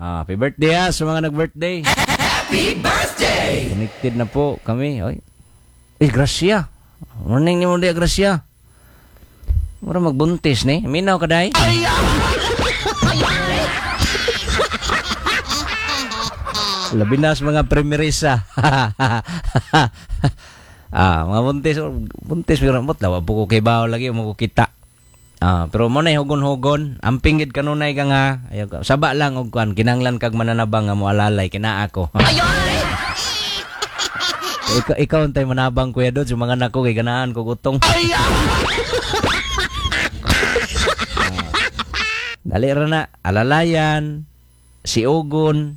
Ah, happy birthday ha sa mga nag-birthday. Happy birthday! Connected na po kami. Oy. Eh, Gracia. Morning ni mo di, Gracia. Mura magbuntis ni. Minaw ka day. Labi na sa mga primerisa. Ah, mga buntis, buntis pero mo lawa po ko kay bawo lagi mo ko kita. Ah, pero mo na hugon-hugon, amping gid kanunay ka nga. Ayaw ka. Saba lang og kuan, kinanglan kag mananabang nga mo alalay kina ako. Ikaw untay manabang, Kuya Dodge, yung mga anak ko kay ganahan ko gutong. Ah. Dali ra na, alalayan, si Ugon.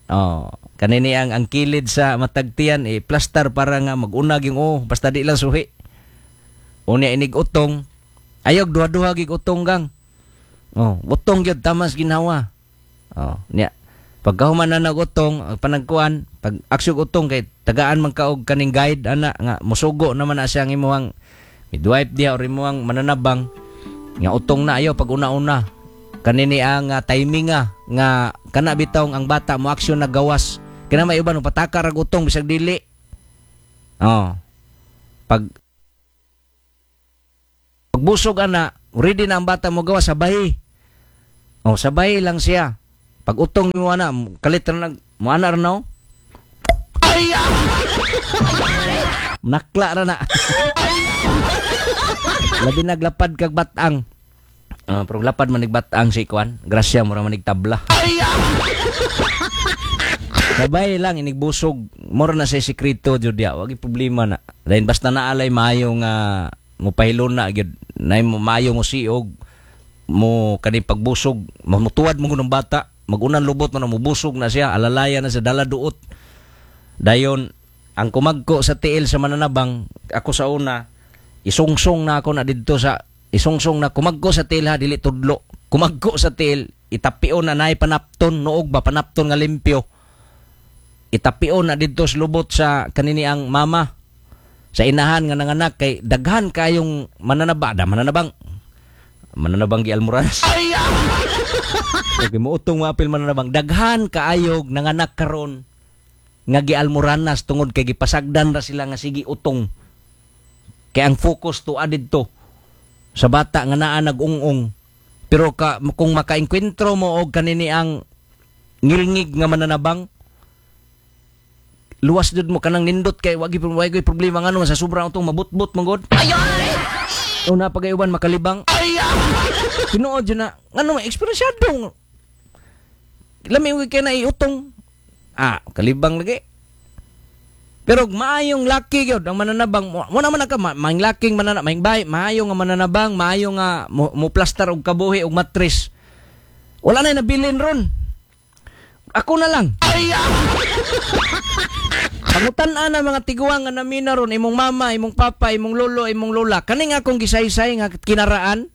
Oh, kanini ang kilid sa matagtian eh plaster para nga magunag yung oh, basta di lang suhi. Unya inig utong. Ayog duha-duha gig utong gang. Oh, utong gyud tamas ginhawa. Oh, niya. Pagkahuman na nagutong, ang panagkuan, pag aksyog utong kay tagaan man ka og kaning guide ana nga musugo naman na siya ang imuhang midwife diha or imuhang mananabang nga utong na ayo pag una-una. Kanini ang timing nga nga kana bitaw ang bata mo aksyon na gawas. Kina may uban pataka ra utong bisag dili. Oh. Pag pagbusog ana, ready na ang bata mo gawas sabay. Oh, sabay lang siya. Pag utong mo ana, kalit ra nag mo ana ra no. Nakla ra na. Labi naglapad kag batang. Ah, pero lapad man batang si Kwan. Grasya mo ra man tabla. Sabay lang inigbusog. Mora na sa sekreto jud dia. Wag problema na. Dahil basta naalay maayo nga mopahilon na gyud. Nay mo maayo mo siog mo kani pagbusog, mutuwad mo ng bata, magunan lubot mo na mubusog na siya, alalaya na sa dala duot. Dayon ang kumagko sa tiil sa mananabang, ako sa una, isungsong na ako na didto sa isungsong na kumagko sa tiil ha, dili tudlo. Kumagko sa tiil, itapion na naay panapton, noog ba panapton nga limpyo. Itapion na didto sa lubot sa kanini ang mama sa inahan nga nanganak kay daghan kayong mananaba, da mananabang. Mananabang gi Almoranas. Okay, moutong mo apil mananabang. Daghan kaayog nanganak karon nga gi Almoranas tungod kay gipasagdan ra sila nga sige utong. Kay ang focus to adidto sa bata nga naa nag-ung-ung. Pero ka, kung makaengkwentro mo og kanini ang ngilngig nga mananabang, luwas jud mo kanang nindot kay wagi wagi problema ngano sa sobrang utong mabutbot man gud. Una pagayuban makalibang. Tinuod jud na ngano may eksperyensyado. Lami og kay na iutong. Ah, kalibang lagi. Pero maayong laki gyud ang mananabang, mo naman ka maayong laking mananabang, maayong bay, maayo nga mananabang, maayo nga mo plaster og kabuhi og matris. Wala na nabilin ron. Ako na lang. Pangutan-an na mga tiguang nga namina ron, imong mama, imong papa, imong lolo, imong lola. Kaning akong gisaysay nga kinaraan?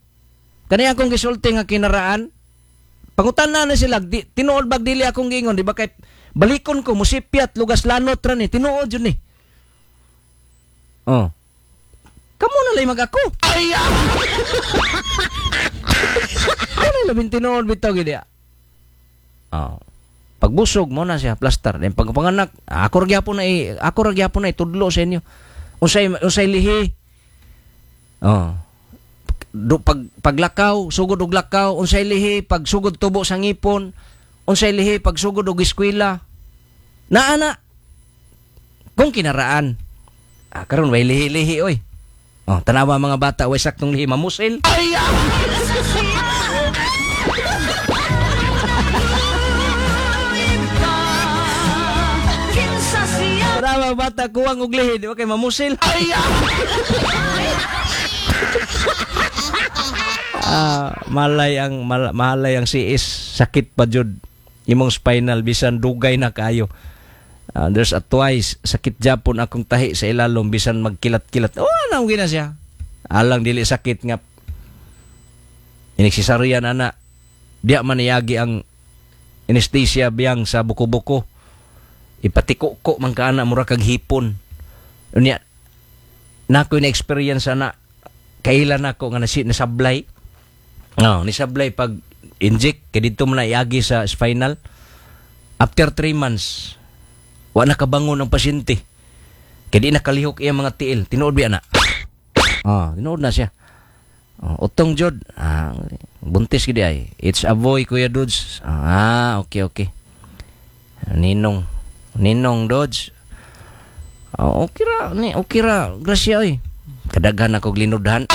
Kaning akong gisulti nga kinaraan? Pangutan-an na sila, di, tinuod bag dili akong giingon, di ba kay balikon ko musipyat lugas lanot ra ni, tinuod jud ni. Oh. Kamo na lay mag-ako. Ano labing tinuod bitaw gid ya? Oh. Pagbusog mo na siya plaster. Then pagpanganak, ako ra gyapon na ako ra gyapon na itudlo sa inyo. Unsay lihi. Oh. Do, paglakaw, sugod og lakaw, unsay lihi pag sugod tubo sa ngipon, unsay lihi pag sugod og eskwela. Naa na. Kung kinaraan. Ah, karon way lihi-lihi oy. Oh, tanawa mga bata way saktong lihi mamusil. Tanawa bata kuwang og lihi, di ba kay mamusil? Ah, malay ang siis, sakit pa jud imong spinal bisan dugay na kaayo. There's a twice sakit japon akong tahi sa ilalom bisan magkilat-kilat. Oh, ano gina siya? Alang dili sakit nga inigsisaryan ana. Diya man iyagi ang anesthesia biyang sa buko-buko. Ipatiko-ko man ka ana mura kag hipon. Unya nako na experience ana. Kailan nako nga nasablay. No, nisablay pag inject kay didto man na iagi sa spinal. After 3 months, wa nakabangon ang pasyente. Kay di nakalihok iyang mga tiil. Tinuod biya na? Ah, tinuod na siya. Oh, utong jud. Ah, buntis gid ay. It's a boy, Kuya Dudes. Ah, okay. Ninong. Ninong Dodge. Oh, okay ra ni, okay ra. Grasya oy. Kadaghan ako linudhan.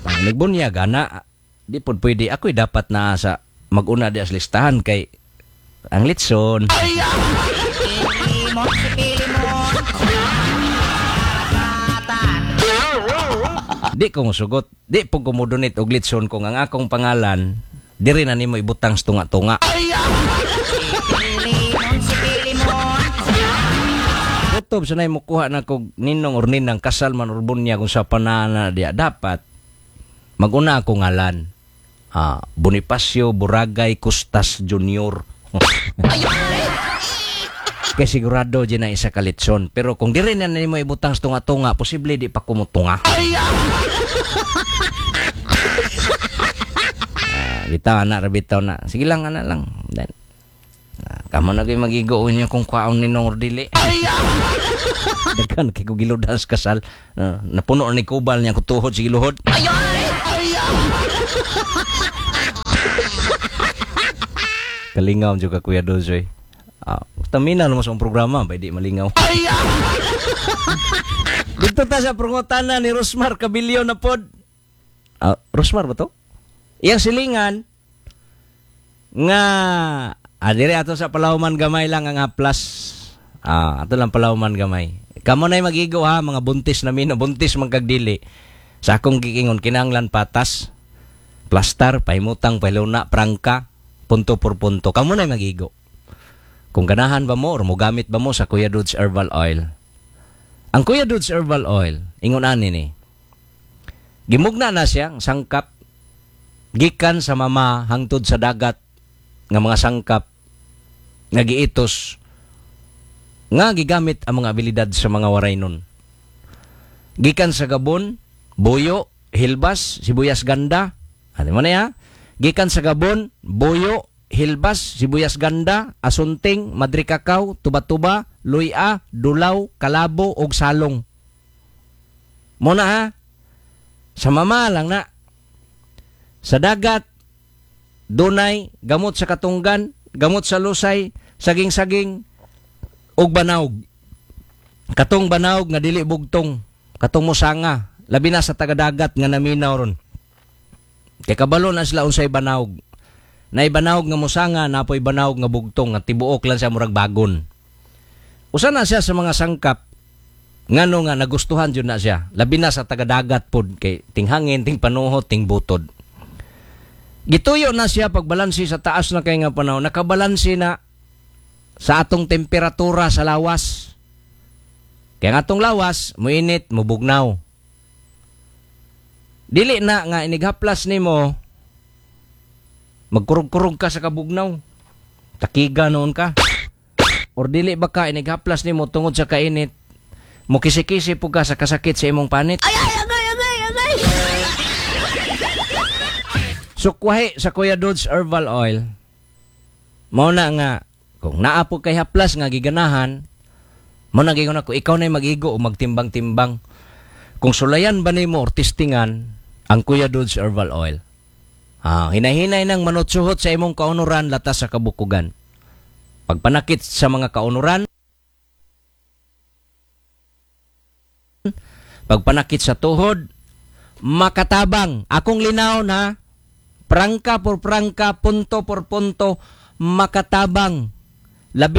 Pang nagbunyag ana, di pod pwede ako'y dapat na sa maguna di sa listahan kay ang litson. Pilimon si Pilimon. Batan. Di ko musugot, di po ko modonate og litson kung ang akong pangalan diri na nimo ibutang sa tunga-tunga. Pilimon si Pilimon. Kutob sa nay mukuha na kog ninong or ninang, kasal man or bunyag, kung sa panana diya dapat maguna ako ngalan. Ah, Bonifacio Buragay Costas Jr. Kay sigurado dyan na isa ka litson. Pero kung diri na nimo ibutang sa tunga-tunga, posible di pa kumutunga. Ah, bitaw ana ra, bitaw na. Sige lang, ana lang. Then, kamo na kayo magigo niyo kung kwaon ninong or dili. Daghan kay ko giludan sa kasal. Napuno ni kubal niya kutuhod sige luhod. Kalingaw jud ka, Kuya Dozoy. Ah, tamina mo sa programa bay di malingaw. Dito ta sa prangutana ni Rosmar Cabilio na pod. Ah, Rosmar ba to? Iyang silingan nga dire ato sa Palauman gamay lang ang haplas. Ah, ato lang Palauman gamay. Kamo nay magigo ha, mga buntis na mino, buntis man kag dili. Sa akong giingon kinahanglan patas, plastar, pahimutang, pahiluna, prangka, punto por punto. Kamo nay magigo. Kung ganahan ba mo or mogamit ba mo sa Kuya Dudes Herbal Oil. Ang Kuya Dudes Herbal Oil, ingon ani ni. Gimugna na siya ang sangkap gikan sa mama hangtod sa dagat nga mga sangkap nga giitos nga gigamit ang mga abilidad sa mga waray nun. Gikan sa Gabon, buyo, hilbas, sibuyas ganda. Ano mo na ya? Gikan sa Gabon, buyo, hilbas, sibuyas ganda, asunting, madre kakao, tuba-tuba, luya, dulaw, kalabo, og salong. Muna ha? Sa mama lang na. Sa dagat, dunay, gamot sa katunggan, gamot sa lusay, saging-saging, og banaog. Katong banaog nga dili bugtong, katong musanga, labi na sa tagadagat nga naminaw ron. Kay kabalo na sila unsay banaog. Naay banaog nga musanga, napoy banaog nga bugtong nga tibuok lang siya murag bagon. Usa na siya sa mga sangkap ngano nga nagustuhan jud na siya. Labi na sa tagadagat pod kay tinghangin, tingpanuhot, tingbutod. Gituyo na siya pagbalansi sa taas na kay nga panahon. Nakabalansi na sa atong temperatura sa lawas. Kaya nga atong lawas, muinit, mubugnaw. Dili na nga inighaplas nimo, magkurog-kurog ka sa kabugnaw. Takiga noon ka. Or dili ba ka inighaplas nimo tungod sa kainit, mukisi-kisi po ka sa kasakit sa imong panit. Ay, ay, agay, agay, agay. Sukwahi sa Kuya Dudes Herbal Oil. Mao na nga, kung naa po kay haplas nga giganahan, mao na gigon ako, ikaw na'y mag-igo o magtimbang-timbang. Kung sulayan ba nimo or testingan ang Kuya Dudes Herbal Oil. Hinahinay nang manutsuhot sa imong kaunuran latas sa kabukugan. Pagpanakit sa mga kaunuran, pagpanakit sa tuhod, makatabang. Akong linaw na, prangka por prangka, punto por punto, makatabang. Labi